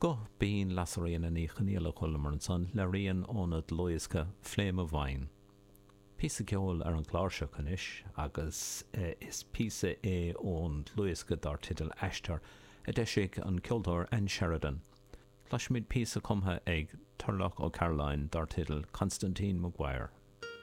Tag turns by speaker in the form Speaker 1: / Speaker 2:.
Speaker 1: Guth binn Lasairfhíona Ní Chonghaile a chualamar ansan le rian óna dlúthdhiosca Fléim i bhFeidhm. Píosa ceoil ar an gclár seo anois agus is píosa é ón dlúthdhiosca dar teideal Aistear a d'eisigh an ceoltóir Ann Sheridan. Cloisfimid píosa cumtha ag Turlough Ó Cairealláin dar teideal Constantine Maguire.